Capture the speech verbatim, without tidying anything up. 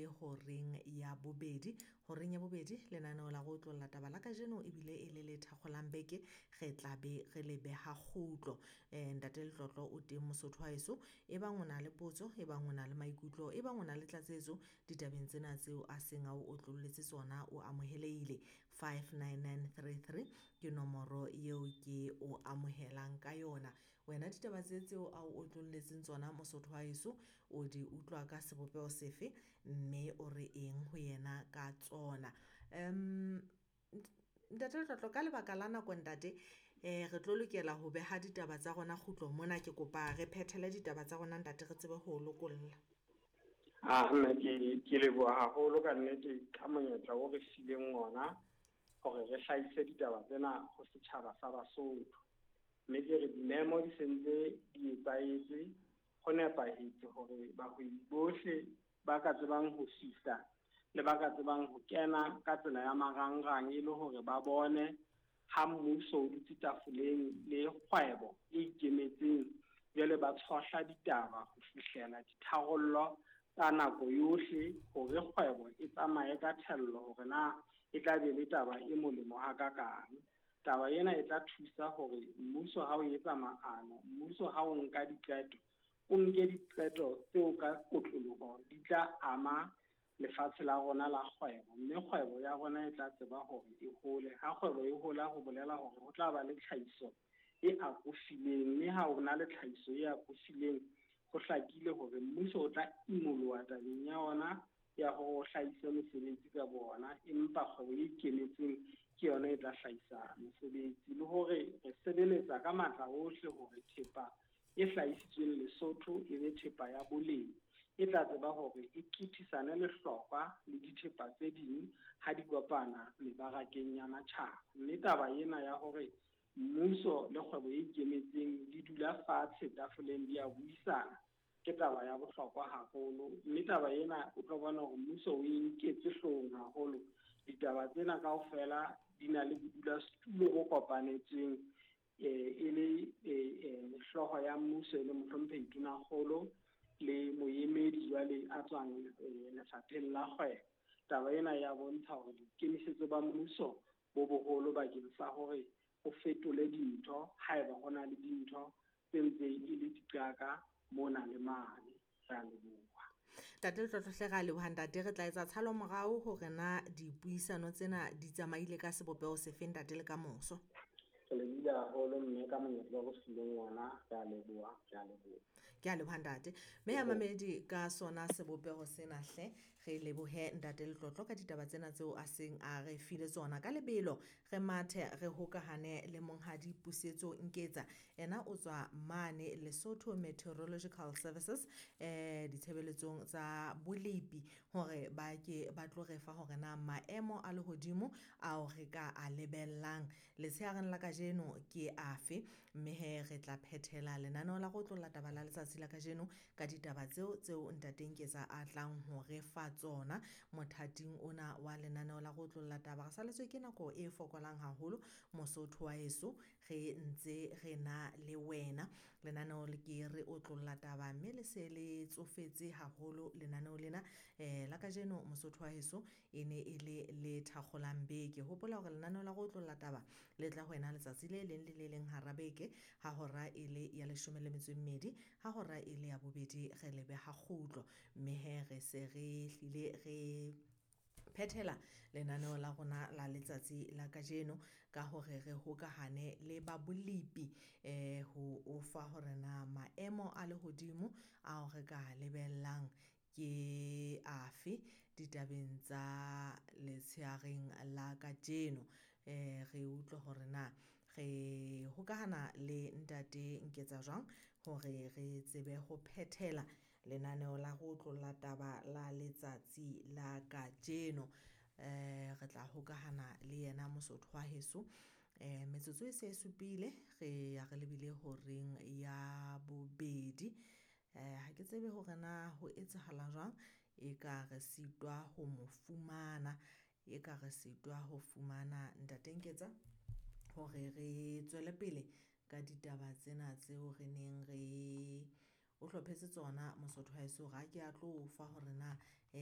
lebile horeng ya bobedi. Horeng ya bobedi lenaneo la go otlolla taba la kajeno ebile e le le thakgolang beke, re tla be re le beha kgutlo. um Ntate Letlotlo o teng Mosotho wa heso, ebang o na le potso, ebang o na le maikutlo, ebang o na le tlatsetso ditabeng tsena tseo a seng a o otlolletse tsona, o amohelehile. Five nine nine three three ke nomoro eo ke o amohelang ka yona. Wena ditaba tse tseo a o otlolletseng tsona Mosotho wa heso, o di utlwa ka sebopeho sefe, mme o re eng ho yena ka tsona? um Ntate Letlotlo, ka lebaka la nako ntate, eh re tlo lokela ho beha ditaba tsa rona kgutlo mona. Ke kopa re phethele ditaba tsa rona ntate, re tsebe ho lokolla. Ah, mme ke ke leboha haholo ka nnete ka monyetla o re fileng ona hore re hlahise ditaba tsena ho setjhaba sa Basotho. Mme ke re dimemo di sentse di etsahetse, ho nepahetse hore bahwebi bohle ba ka tsebang ho fihla le ba ka tsebang ho kena ka tsela ya marangrang e le hore ba bone ha mmuso o dutse tafoleng le kgwebo e ikemetseng, jwale ba tshohla ditaba ho fihlela ditharollo ka nako yohle hore kgwebo e tsamaye ka thello, hore na e tla be le taba e molemo hakakang. Taba ena e tla thusa hore mmuso ha o etsa maano, mmuso ha o nka diqeto, o nke diqeto tseo ka kotloloho di tla ama lefatshe la rona la kgwebo, mme kgwebo ya rona e tla tseba hore e hole. Ha kgwebo e hola, ho bolela hore ho tla ba le tlhahiso e akofileng, mme ha ho na le tlhahiso e akofileng, ho hlakile hore mmuso o tla imoloha tabeng ya ona ya hore o hlahise mesebetsi ka bona, empa kgwebo e ikemetseng ke yona e tla hlahisa mesebetsi. Le hore re sebeletsa ka matla ohle hore thepa e hlahisitsweng Lesotho e be thepa ya boleng, e tla tseba hore e qithisane lehlokwa le dithepa tse ding ha di kopana mebarakeng ya matjhaba. Mme taba ena ya hore mmuso le kgwebo e ikemetseng di dula fatshe tafoleng di a buisana ke taba ya bohlokwa haholo. Mme taba ena o tlo bona hore mmuso o e nketse hloohong haholo. Ditaba tsena kaofela di na le bodulasetulo bo kopanetsweng, eh, e le, eh, eh, hlooho ya mmuso e le mohlomphehi Tonakgolo le moemedi jwale a tswang, eh, lefapheng la kgwebo. Taba ena ya bontsha hore boikemisetso ba mmuso bo boholo bakeng sa hore o fetole dintho haeba ho na le dintho tse ntseng e le diqaka mona le mane. Re a leboha. Ntate Letlotlo hle, re a leboha ntate. Re tla etsa tshalo morao hore na dipuisano tsena di tsamaile ka sebopeho sefe ntate le ka moso. Re lebohile haholo mme ka monyetla o re fileng ona, re a leboha, re a leboha. Ke a leboha ntate. Mme ya mamedi ka sona sebopeho sena hle, re lebohe ntate Letlotlo ka ditaba tsena tseo a seng a re file tsona. Ka lebelo re mathe re hokahane le monghadi Pusetso Nketsa, ena o tswa mane Lesotho Meteorological Services, eh ditshebeletsong tsa bolepi, hore ba ke ba tlo re fa hore na maemo a lehodimo ao re ka a lebellang letshehareng la kajeno ke afe. Mme he re tla phethela lenaneo la go otlolla taba la letsatsi la kajeno ka ditaba tseo tseo ntate Nketsa a tlang ho re fa tsona mothating ona wa lenaneo la go otlolla taba. Re saletswe ke nako e fokolang haholo Mosotho wa heso, re ntse re na le wena. Lenaneo le ke re otlolla taba, mme le se le tsofetse haholo lenaneo lena, eh la kajeno Mosotho wa heso e ne e le le thakgolang beke. Hopola hore lenaneo la go otlolla taba le tla ho wena letsatsi le leng le le leng hara beke ha hora e le ya leshome le metso e mmedi, ha hora e le ya bobedi re le beha kgutlo. Mme he re se re hlile re phethela lenaneo la rona la letsatsi la kajeno ka hore re hokahane le ba bolepi, eh ho o fa hore na maemo a lehodimo ao re ka lebellang ke afe ditabeng tsa letshehareng la kajeno. Eh re utlwe hore na re hokahana le ntate Nketsa jwang hore re tsebe ho phethela lenaneo la go otlolla taba la letsatsi la kajeno. Eh re tla hokahana le yena Mosotho wa heso. Eh metsotso e se e supile, re ya re lebile horeng ya bobedi. Eh ha ke tsebe hore na ho etsahala jwang, e ka re sitwa ho mo fumana, e ka re sitwa ho fumana ntate Nketsa hore re tswele pele ka ditaba tsena tseo re neng re o hlophetse tsona Mosotho wa heso, hore a ke a tlo o fa hore na